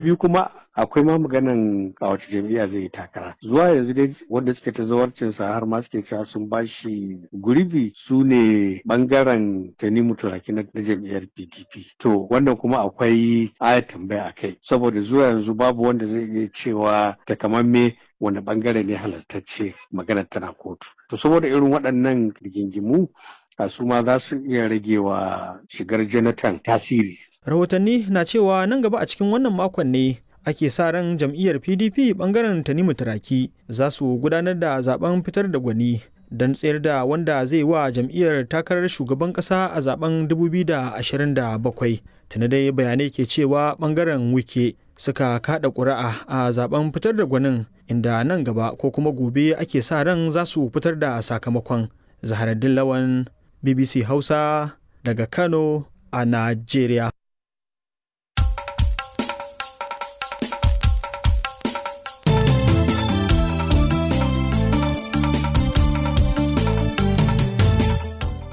Biyu kuma, akwai ma maganan a wace jam'iyya zai yi takara. Zuwa yanzu dai wanda suke ta zawarcinsa har ma suke cewa sun bashi gurbi su ne bangaren Tanimu Turaki na jam'iyyar PDP. To wannan kuma akwai ayat tambaya a kai, saboda zuwa yanzu babu wanda zai iya cewa takamamme wani bangare ne halartacce, maganar tana kotu. To saboda irin waɗannan rigingimu su ma za su iya rage wa shigar Jonathan tasiri. Rahotanni na cewa nan gaba a cikin wannan makon ne ake sa ran jam'iyyar PDP bangaren Tanimu Turaki za su gudanar da zaben fitar da gwani don tsayar da wanda zai wa jam'iyyar takarar shugaban kasa a zaben 2027. Tuni dai bayanai ke cewa bangaren Wike suka kada ƙuri'a a zaben fitar da gwanin, inda nan gaba ko kuma gobe ake sa ran za su fitar da sakamakon. Zaharaddin Lawan, BBC Hausa, daga Kano a Najeriya.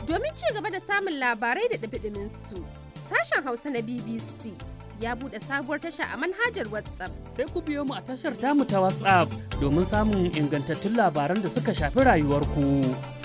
Domin ci gaba da samun labarai da ɗumi su, sashen Hausa na BBC ya buɗe sabuwar tasha a manhajar WhatsApp. Sai ku biyo mu a tashar tamu ta WhatsApp domin samun ingantattun labaran da suka shafi rayuwarku.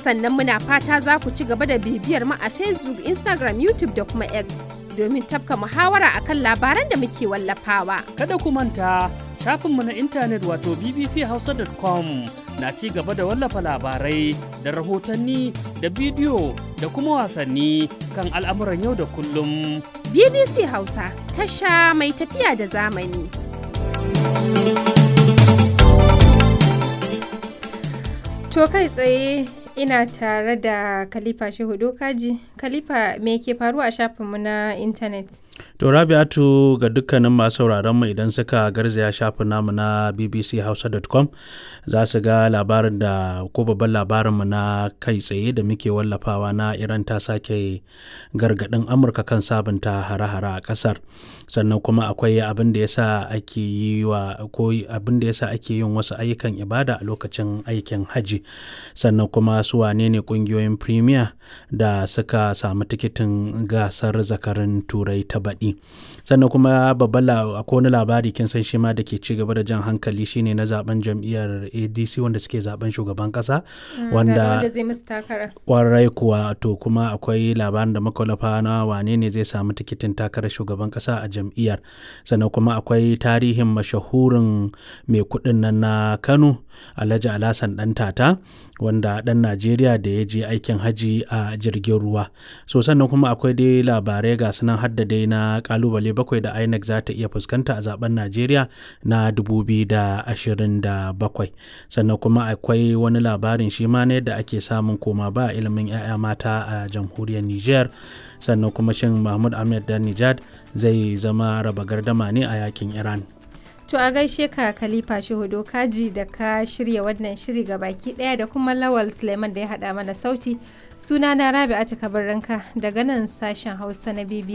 Sannan muna fata za ku ci gaba da bibiyar mu a Facebook, Instagram, YouTube da kuma X domin tafka muhawara akan labaran da muke wallafawa. Kada ku manta, shafinmu na intanet wato bbchausa.com na ci gaba da wallafa labarai da rahotanni da bidiyo da kuma wasanni kan al'amuran yau da kullum. BBC Hausa, tasha mai tafiya da zamani. To kai tsaye ina tare da Khalifa Shehu Dokaji. Khalifa, me ke faruwa a shafinmu na intanet? To Rabi'atu, ga dukkanin masu sauraron mu, idan suka garzaya shafin namu na bbchausa.com za su ga labarin da ko babban labarin mu na kai tsaye da muke wallafawa na Iran ta sake gargadin Amurka kan sabunta hare-hare a kasar. Sannan kuma akwai abin da yasa ake yi wa ko abin da yasa ake yin wasu ayyukan ibada a lokacin aikin haji. Sannan kuma su wane ne kungiyoyin Premier da suka samu tikitin gasar zakarin Turai ta baɗi. Sannan kuma babban akwai wani labari, kin san shi ma, da ke ci gaba da jan hankali, shine na zaben jam'iyyar ADC wanda suke zaben shugaban kasa. Wanda zai musu takara. Kwarai kuwa. To kuma akwai labarin da muka wallafa na wane ne zai samu tikitin takarar shugaban kasa a jam'iyyar. Sannan kuma akwai tarihin mashahurin mai kuɗin nan na Kano, Alhaji Alhassan Ɗantata, wanda ɗan Najeriya da ya je aikin haji a jirgin ruwa. So sannan kuma akwai dai labarai ga sunan, hadda dai na kalubale bakwai da INEC za ta iya fuskanta a zaben Najeriya na 2027. Sannan kuma akwai wani labarin shi ma na yadda ake samun koma ba ilimin 'ya'ya mata a jamhuriyar Niger. Sannan kuma shin Mahmud Ahmed dan Nijad zai zama raba gardama ne a yakin Iran? To a gaishe ka Khalifa Shehu Dokaji da ka shirya wannan shiri ga baki daya, da kuma Lawal Suleiman da ya hada mana sauti. Suna na Rabi'atu Kabirranka daga nan sashen Hausa na BBC.